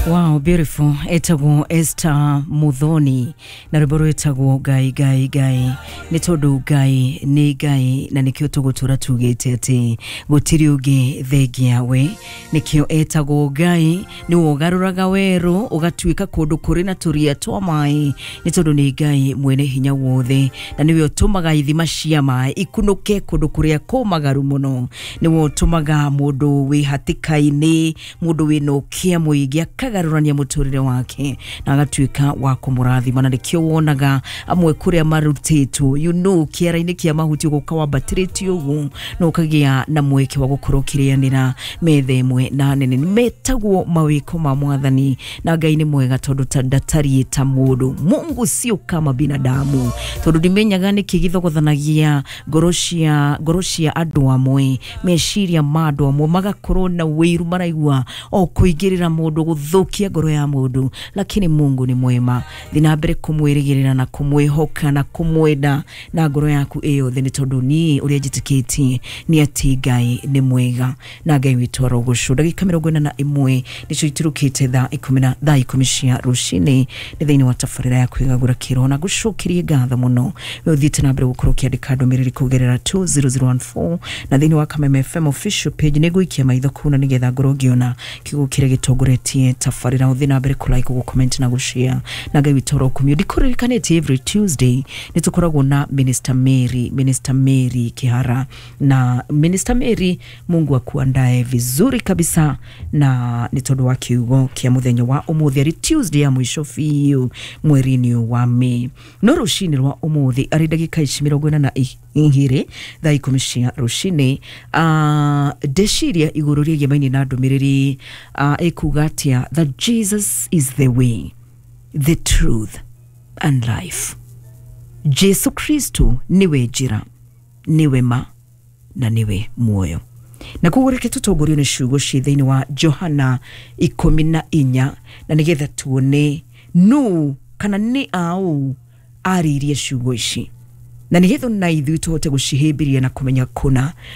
Wow, beautiful. Etagwo Esther Muthoni na rwĩmbo rwĩtagwo Ngai Ngai Ngai, nĩ tondũ Ngai nĩ Ngai, na nĩkĩo tũgũtũra tugĩte atĩ gũtirĩ ũngĩ thengia we. Nĩkĩo etagwo Ngai, nĩwe ũgarũraga werũ ũgatuĩka kũndũ kũrĩ na tũria twa maĩ, nĩ tondũ nĩ Ngai mwene hinya wothe, na nĩwe ũtũmaga ithima cia maĩ ikunũke kũndũ kũrĩa kũmagaru mũno. Nĩwe ũtũmaga mũndũ wĩ hatĩka-inĩ, mũndũ wĩna ũkĩa mũingĩ, akagarũrania mũtũrĩre wake na agatuĩka wa kũmũrathima. Na nĩkĩo wonaga amwe kũrĩa marutĩtwo kĩara-inĩ kĩa mahuti, ũgoka wambatĩrĩtio ũguo na ũkagĩa na mweke wa gũkorwo ũkĩrĩanĩra metha ĩmwe na nene. Metagwo mawĩko ma Mwathani, na Ngai nĩ mwega tondũ ndatariĩ ta mũndũ. Mungu sio kama binadamu, tondũ ndimenyaga nĩkĩ gĩthogothanagia ngoro cia andũ amwe, meciria ma andũ amwe, magakorwo na wĩiru, maraigua o kũingĩrĩra mũndũ, gũthũkia ngoro ya mũndũ. Lakini Mungu nĩ mwema. Thiĩ na mbere kũmwĩrĩgĩrĩra na kũmwĩhoka na kũmwenda na ngoro yaku ĩ yothe, nĩ tondũ niĩ ũrĩa njĩtĩkĩtie nĩ atĩ Ngai nĩ mwega na Ngai witũ arogocwo. Ndagĩka 41 nĩcio iturũkĩte thaa 10 na thaa 10 cia rũcinĩ, nĩ thĩinĩ wa tabarĩra ya kwĩgagũra kĩroho, na ngũcokerie ngatho mũno we ũthiĩte na mbere gũkorwo ũkĩandĩka ndũmĩrĩri kũgerera 20014 na thĩinĩ wa Kameme FM official page. Nĩ ngũikia maitho kũu na nĩgetha ngorwo ngĩona kiugo kĩrĩa gĩtongoretie tabarĩra. Ũthiĩ na mbere kũ like, gũ comment na gũ share, na Ngai witũ arokumio. Ndikũririkanĩtie, every Tuesday nĩ tũkoragwo na Minister Mary, Minister Mary Kihara. Na Minister Mary, Mungu akuandae vizuri kabisa, na nĩ tondũ wa kiugo kĩa mũthenya wa ũmũthĩ, arĩ Tuesday ya mũico biũ mweri-inĩ wa May. No rũcinĩ rwa ũmũthĩ, arĩ ndagĩka ici 42 thaa 10 cia rũcinĩ, ndeciria igũrũ rĩgiĩ mainĩ na ndũmĩrĩri ĩkuga atĩa, that Jesus is the way, the truth and life. Jesu Kristo nĩwe njĩra, nĩwe ma na nĩwe muoyo. Na koguo reke tũtongorio nĩ ciugo ciĩ thĩinĩ wa Johana 14, na nĩgetha tuone nũ kana nĩ aũ arĩirie ciugo ici, na nĩgetha na ithuĩ tũhote gũcihĩmbĩria na kũmenya kũna.